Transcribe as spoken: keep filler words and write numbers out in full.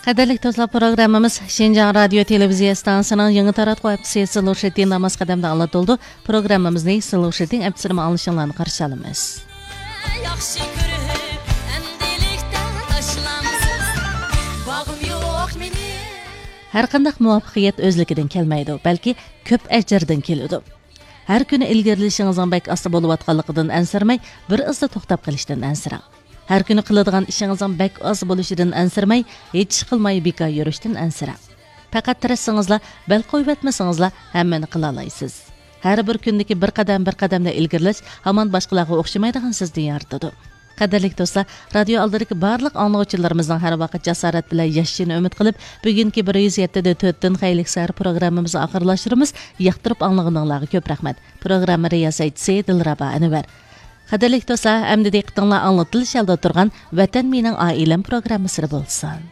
قەدىرلىك دوستلار، پروگراممىمىز شىنجاڭ رادىيو تېلېۋىزىيە ئىستانسىسىنىڭ يېڭى تاراتقۇ ھەپتىسى سىلۇشىتى ناماز قەدەمدە ئاڭلىتىلىدۇ. پروگراممىمىزنى سىلۇشىتىڭ ئەپسىرىمە ئاڭلىشىڭلارنى قارشى ئالىمىز. ياخشى كۆرۈپ، ئەمدىلىكتە تاشلامسىز. باغىم يوق مېنىڭ. ھەرقانداق مۇۋەپپەقىيەت ئۆزلۈكىدىن كەلمەيدۇ، بەلكى كۆپ ئەجىردىن كېلىدۇ. ھەر كۈنى ئىلگىرىلىشىڭىزنىڭ بەك ئاستا بولۇۋاتقانلىقىدىن ئەنسىرىمەي، بىر ئىزدا توختاپ قېلىشتىن ئەنسىرەڭ. ھەر كۈنى قىلىدىغان ئىشىڭىزنىڭ بەك ئاز بولۇشىدىن ئەنسىرىمەي، ھېچ ئىش قىلماي بىكار يۈرۈشتىن ئەنسىرەڭ. پەقەت تىرىشسىڭىزلا، بەل قويۇۋەتمىسىڭىزلا، ھەممىنى قىلالايسىز. ھەر بىر كۈندىكى بىر قەدەم، بىر قەدەمدە ئىلگىرىلەش ھامان باشقىلارغا ئوخشىمايدىغان سىزنى يارىتىدۇ. قەدىرلىك دوستلار، رادىيو ئالدىدىكى بارلىق ئاڭلىغۇچىلىرىمىزنىڭ ھەر ۋاقىت جاسارەت بىلەن ياشىشىنى ئۈمىد قىلىپ، بۈگۈنكى بىر يۈز يەتتە دە تۆتتىن خەيرلىك سەھەر پروگراممىمىزنى ئاخىرلاشتۇرىمىز. ياقتۇرۇپ ئاڭلىغىنىڭلارغا كۆپ رەھمەت. پروگرامما رىياسەتچىسى دىلرەبا ئەنۋەر. قەدىرلىك دوستلار، ئەمدى دىققىتىڭلار ئاڭلىتىلىش ھالدا تۇرغان ۋەتەن مېنىڭ ئائىلەم پروگراممىسىدا بولسۇن.